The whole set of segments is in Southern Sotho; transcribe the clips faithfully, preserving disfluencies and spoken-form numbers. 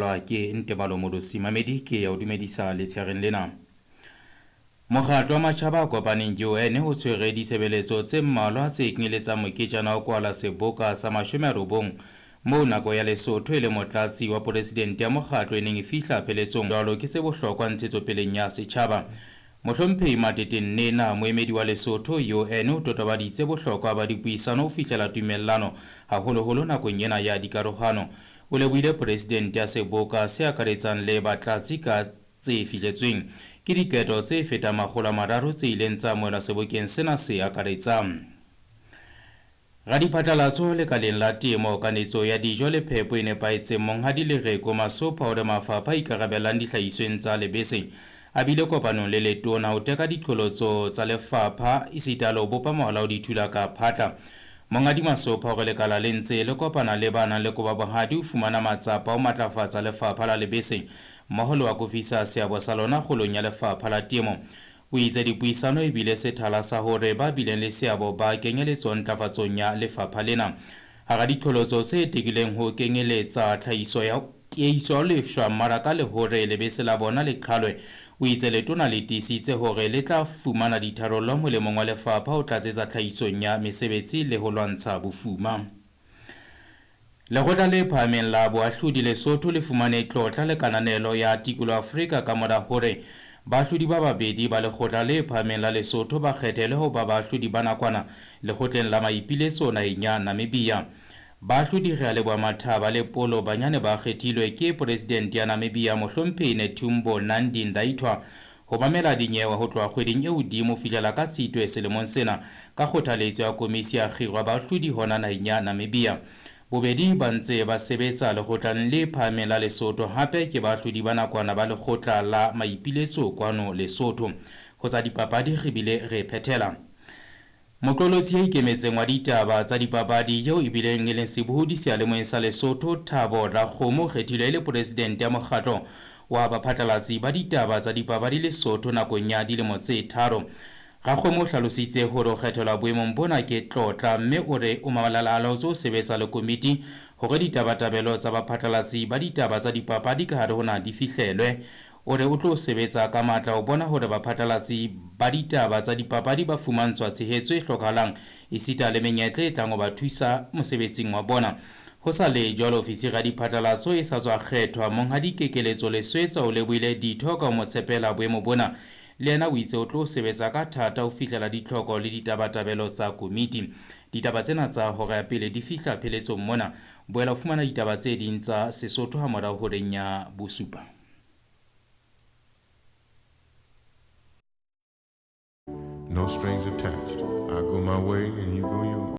Ke Ntebalo Modosi Mamedi ke ya o dumedisa letshareng lena. Mokgatlo wa Matjhaba a Kopaneng U N o tshwere ditshebeletso tse mmalwa tse kenyeletsang moketjana wa kwala seboka sa mashome a robong moo nako ya Lesotho e le motlatsi wa presidente ya mokgatlo e neng e fihla pheletsong jwalo ke tse bohlokwa ntshetsopeleng ya setjhaba. Mohlomphehi Matete Nnena, moemedi wa Lesotho U N, o totobaditse bohlokwa ba dipuisano ho fihlela tumellano haholoholo nakong ena ya dikarohano. O lebohile presidente ya seboka se akaretsang le batlatsi ka tse fihletsweng ke diketo tse fetang makgolo a mararo tse ileng tsa amohelwa sebokeng sena se akaretsang. Radiphatlalatso lekaleng la temo, kanetso ya dijo le phepo e nepahetseng Monghadi Lereko Masopha o re mafapha a ikarabellang dihlahisweng tsa lebese a bile kopanong le letona ho teka diqholotso tsa lefapha esita le ho bopa mohala o dithula ka phatla. Monghadi Masopha o re lekala le ntse le kopana le ba nang le koba bohadi ho fumana matsapa ho matlafatsa lefapha la lebese mmoho le ho akofisa seabo sa lona kgolong ya lefapha la temo. O itse dipuisano e bile sethala sa hore ba bileng le seabo ba kenyeletswa ntlafatsong ya lefapha lena. Hara diqholotso tse tekileng ho kenyeletsa tlhahiso ya tiehiso ya lefshwa mmaraka le hore lebese la bona le qhalwe. O itse letona le tiisitse hore le tla fumana ditharollo molemong wa lefapha ho tlatsetsa tlhahisong ya mesebetsi le ho lwantsha bofuma. Lekgotla le phahameng la boahlodi Lesotho le fumane tlotla le kananelo ya Tikoloho Afrika ka mora hore baahlodi ba babedi ba lekgotla le phahameng la Lesotho ba kgethelwe ho ba baahlodi ba nakwana lekgotleng la maipiletso naheng ya Namibia. Baahlodi Realeboha Mathaba le Polo Banyane ba kgethilwe ke presidente ya Namibia Mohlomphehi Netumbo Nandi-Ndaitwah ho mamela dinyewe ho tloha kgweding e hodimo ho fihlela ka Tshitwe selemong sena ka kgothaletso ya komisi ya kgiro ya baahlodi hona naheng ya Namibia. Bobedi ba ntse ba sebetsa lekgotleng le phahameng la Lesotho hape ke baahlodi ba nakwana ba lekgotla la maipiletso kwano Lesotho. Ho tsa dipapadi re bile re phethela. Moqolotsi ya ikemetseng wa ditaba tsa dipapadi eo e bileng e leng sebohodi seyalemoyeng sa Lesotho Thabo Rakgomo o kgethilwe e le presidente ya mokgatlo wa baphatlalatsi ba ditaba tsa dipapadi Lesotho nakong ya dilemo tse tharo. Rakgomo o hlalositse hore ho kgethelwa boemong bona ke tlotla mme o re o mabalalaotse ho sebetsa le komiti hore ditabatabelo tsa baphatlalatsi ba ditaba tsa dipapadi ka hare ho naha di fihlelwe. O re o tlo sebetsa ka matla ho bona hore baphatlalatsi ba ditaba tsa dipapadi ba fumantshwa tshehetso e hlokahalang esita le menyetla e tlang ho ba thusa mosebetsing wa bona. Ho sa le jwalo, ofisiri ya diphatlalatso e sa tswa kgethwa Monghadi Kekeletso Leswetsa o lebohile ditho ka ho mo tshepela boemo bona. Le yena o itse o tlo sebetsa ka thata ho fihlela ditlhoko le ditabatabelo tsa komiti. Ditaba tsena tsa hora ya pele di fihla pheletsong mona. Boela o fumana ditaba tse ding tsa Sesotho ha morao horeng ya bosupa. No strings attached. I go my way and you go yours.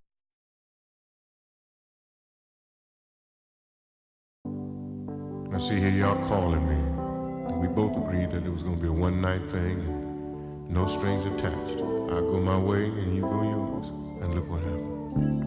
I see here y'all calling me. We both agreed that it was gonna be a one-night thing and no strings attached. I go my way and you go yours. And look what happened.